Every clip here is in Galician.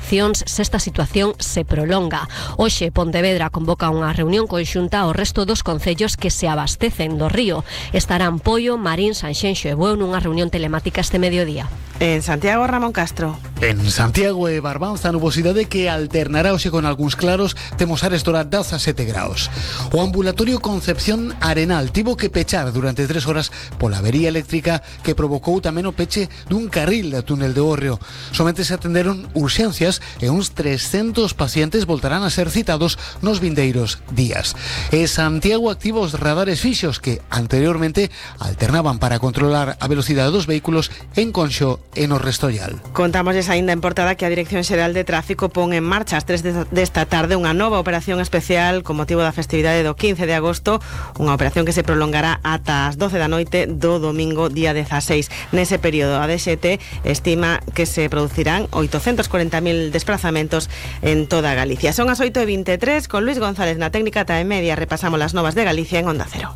sancións se esta situación se prolonga. Hoxe Pontevedra convoca unha reunión conxunta ao resto dos concellos que se abastecen do río. Estarán Poio, Marín, Sanxenxo e Bueu nunha reunión telemática este mediodía. En Santiago, Ramón Castro. En Santiago e Barbanza, nubosidade que alternará hoxe con algúns claros, temos áreas do 17 graus. O ambulatorio Concepción Arenal tivo que pechar durante 3 horas pola avería eléctrica que provocou tamén o peche dun carril da túnel de Hórreo. Somente se atenderon urxencias e uns 300 pacientes voltarán a ser citados nos vindeiros días. E Santiago activa os radares fixos que anteriormente alternaban para controlar a velocidade dos vehículos en Conxo e no Restollal. Contámosles aínda en portada que a Dirección Xeral de Tráfico pon en marcha ás 3 desta tarde unha nova operación especial con motivo da festividade do 15 de agosto, unha operación que se prolongará ata as 12 da noite do domingo día 16. Nese período a DXT estima que se producirán 840.000 desplazamentos en toda Galicia. Son as 8:23, con Luis González na técnica TAE Media repasamos las novas de Galicia en Onda Cero.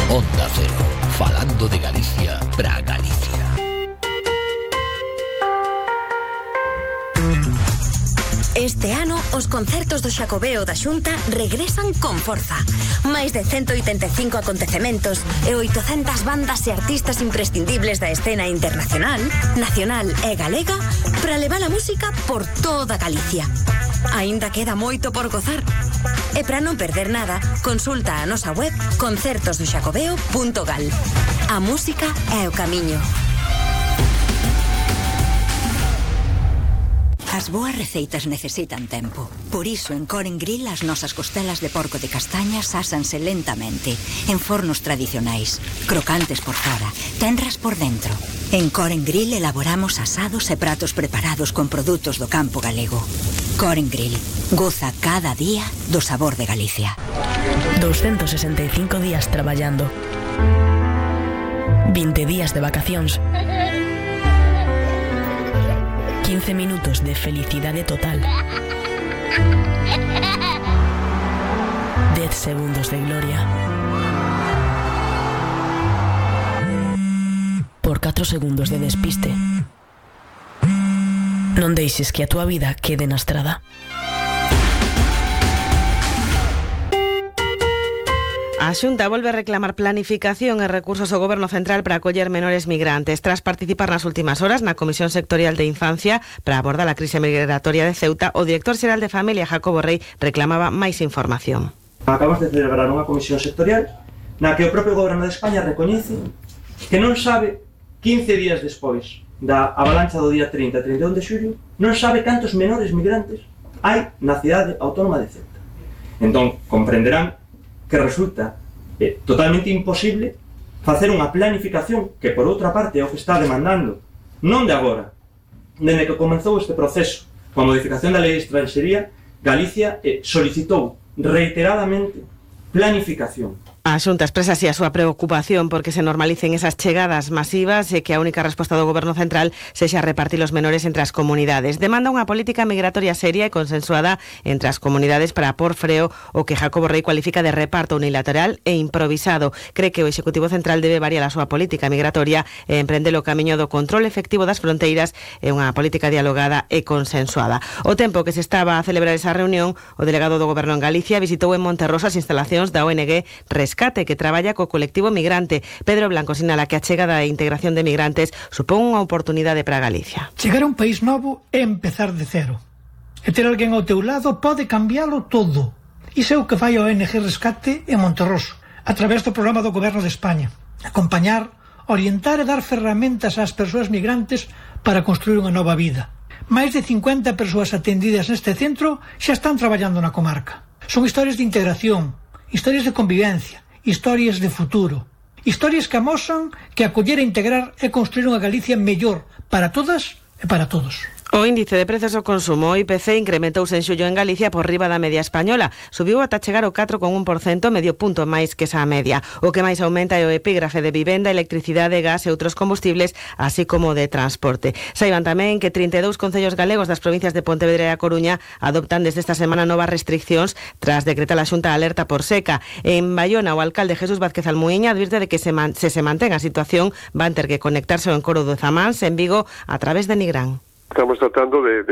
Onda Cero, falando de Galicia para Galicia. Este ano, os concertos do Xacobeo da Xunta regresan con forza. Máis de 185 acontecementos e 800 bandas e artistas imprescindibles da escena internacional, nacional e galega para levar a música por toda Galicia. Aínda queda moito por gozar. E para non perder nada, consulta a nosa web concertosdoxacobeo.gal. A música é o camiño. As boas receitas necesitan tempo. Por iso en Coren Grill as nosas costelas de porco de castañas ásanse lentamente en fornos tradicionais, crocantes por fora, tenras por dentro. En Coren Grill elaboramos asados e pratos preparados con produtos do campo galego. Coren Grill, goza cada día do sabor de Galicia. 265 días traballando, 20 días de vacacións, 15 minutos de felicidade total, 10 segundos de gloria, por 4 segundos de despiste. Non deixes que a túa vida quede na estrada. A Xunta volve a reclamar planificación e recursos ao Goberno Central para acoller menores migrantes. Tras participar nas últimas horas na Comisión Sectorial de Infancia para abordar a crise migratoria de Ceuta, o director xeral de Familia, Jacobo Rey, reclamaba máis información. Acabamos de celebrar unha comisión sectorial na que o propio Goberno de España recoñece que non sabe, 15 días despois da avalancha do día 30 e 31 de xullo, non sabe cantos menores migrantes hai na cidade autónoma de Ceuta. Entón, comprenderán que resulta totalmente imposible facer unha planificación que, por outra parte, é o que está demandando, non de agora, dende que comenzou este proceso coa modificación da lei de extranxería. Galicia solicitou reiteradamente planificación. A Xunta expresa así a súa preocupación porque se normalicen esas chegadas masivas e que a única resposta do Goberno Central sexa repartir os menores entre as comunidades. Demanda unha política migratoria seria e consensuada entre as comunidades para por freo o que Jacobo Rey cualifica de reparto unilateral e improvisado. Cree que o Executivo Central debe variar a súa política migratoria e emprender o camiño do control efectivo das fronteiras e unha política dialogada e consensuada. O tempo que se estaba a celebrar esa reunión, o delegado do Goberno en Galicia visitou en Monterroso as instalacións da ONG Rescate, que traballa co colectivo migrante. Pedro Blanco sinala que a chegada e integración de migrantes supón unha oportunidade para Galicia. Chegar a un país novo é empezar de cero. E ter alguén ao teu lado pode cambiálo todo. Iso é o que fai a ONG Rescate en Monterroso, a través do programa do Goberno de España. Acompañar, orientar e dar ferramentas ás persoas migrantes para construir unha nova vida. Máis de 50 persoas atendidas neste centro xa están traballando na comarca. Son historias de integración, historias de convivencia, historias de futuro, historias que amosan que acoller e integrar é construir unha Galicia mellor para todas e para todos. O índice de prezos ao consumo, o IPC, incrementouse en xullo en Galicia por riba da media española. Subiu ata chegar ao 4,1%, medio punto máis que esa media. O que máis aumenta é o epígrafe de vivenda, electricidade, gas e outros combustibles, así como de transporte. Saiban tamén que 32 concellos galegos das provincias de Pontevedra e A Coruña adoptan desde esta semana novas restriccións tras decretar a Xunta alerta por seca. En Baiona, o alcalde Jesús Vázquez Almuíña advirte de que se mantén a situación van ter que conectarse ao encoro do Zamáns en Vigo a través de Nigrán. Estamos tratando de